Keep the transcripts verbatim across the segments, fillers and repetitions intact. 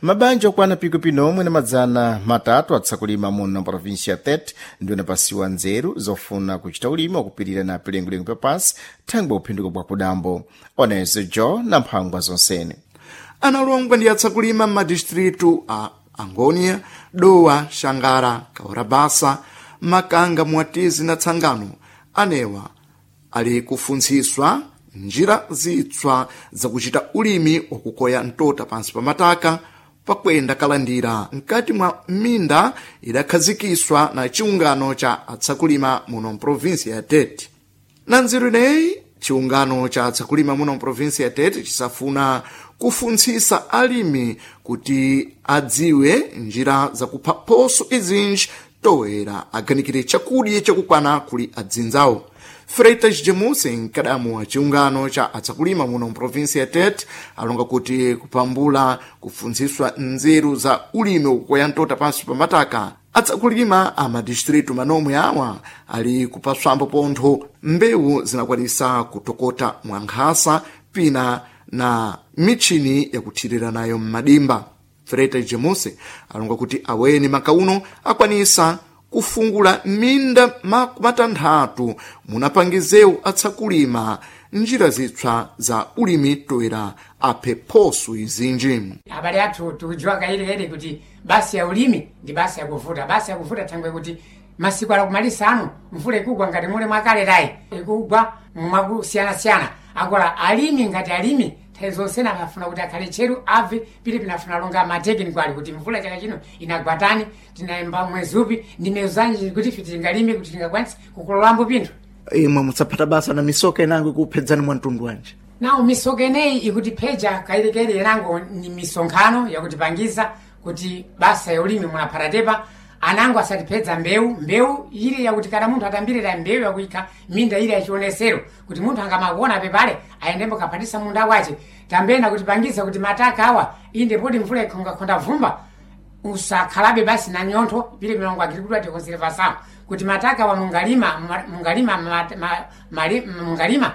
Mabanja okwana pikupiki omwe na madzana matatu atsakulima muno província ya Tete ndi anapasiwa nzeru zofuna kuchita ulimi wakupirira na pilengolengo papansi thangwe uphinduka bwa kudambo. Onezo jo na mphangwa zonsene. Analongwa ndi atsakulima m'madistritu a Angônia, Dowa, Xangara, Kaurabasa, Makanga, Mwatizi na Tsangano anewa ali kufuntsiswa njira zitswa zakuchita ulimi wakukoya mtota pansi pa mataka pakwenda kalandira mkati mwa minda idakhazikiswa na chiungano cha atsakulima muno mprovinsia ya Tete. Na nzeru ineyi, chiungano cha atsakulima muno mprovinsia ya Tete chisafuna kufuntsisa alimi kuti adziwe njira zakupha phoso izinji toera aganikire chakudya chakukwana kuli adzinzawo. Freitas Jamusi, mkadamu wa chiungano cha atsakulima muno mprovinsia ya Tete, alonga kuti kupambula kufuntsiswa nzeru za ulimi wakukoya mtota pansi pa mataka, atsakulima a madistritu manomwe awa ali kupaswambo pontho mbewu zinakwanisa kutokota mwankhasa pina na michini yakuthirira nayo m'madimba. Freitas Jamusi alonga kuti aweni makauno akwanisa kufungula minda makumatanthatu munapangizewu atsakulima njira zitswa za ulimi toera aphe phoso izinji. Abale athu, tikudziwa kairikairi kuti basi ya ulimi ndi basi yakuvuta, basi yakuvuta thangwe kuti masiku alakumalisa ano mvula ikugwa ngati mule mwakalerayi, ikugwa mwakusiyanasiyana. Akola alimi ngati alimi nthawi zonsena akafuna kuti akhale tcheru abve pili pinafuna longa matekiniko ali kuti mvula chaka chino inagwatani, tinayamba mwezi upi ndi miyezo zanji kuti ife tingalime, kuti tingakwanise kukololambo pinthu. Imwe musaphata basa na misoka inango ikuphedzani mwa mtundu wanji? Nawo misoka ineyi ikutipheja kairikairi inango ni misonkhano yakutipangisa kuti basa ya ulimi munaphatatepa anango asatiphedza mbewu, mbewu ili yakuti kana munthu atambirira mbewu yakuyikha minda ili yachionesero kuti munthu angamakuona pepale ayendembo kaphatisa munda wace. Tambena kutipangisa kuti mataka awa inde poti mvula ikhongakhonda vumba usakhalabe basi na nyontho pili milongo agricultura tikonservação kuti mataka wa mungalima mungalima ma, ma, mali, mungalima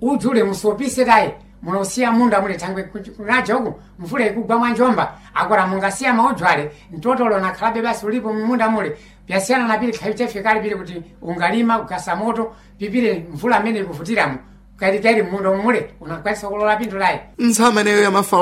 udzule musopise tayi munosiya munda muli thangwe kunaja uku mvula ikugwa mwanjomba. Akora mungasiya maudzwale mtotolo nakhalabe basi ulipo munda mule pyasiyana na pili khaitefe kale pili kuti ungalima kugasa moto pipile mvula amene ikuvutiramo kairikairi munda mule unakwanisa kulola pinthu layi. Ntsama ineyo ya mafa.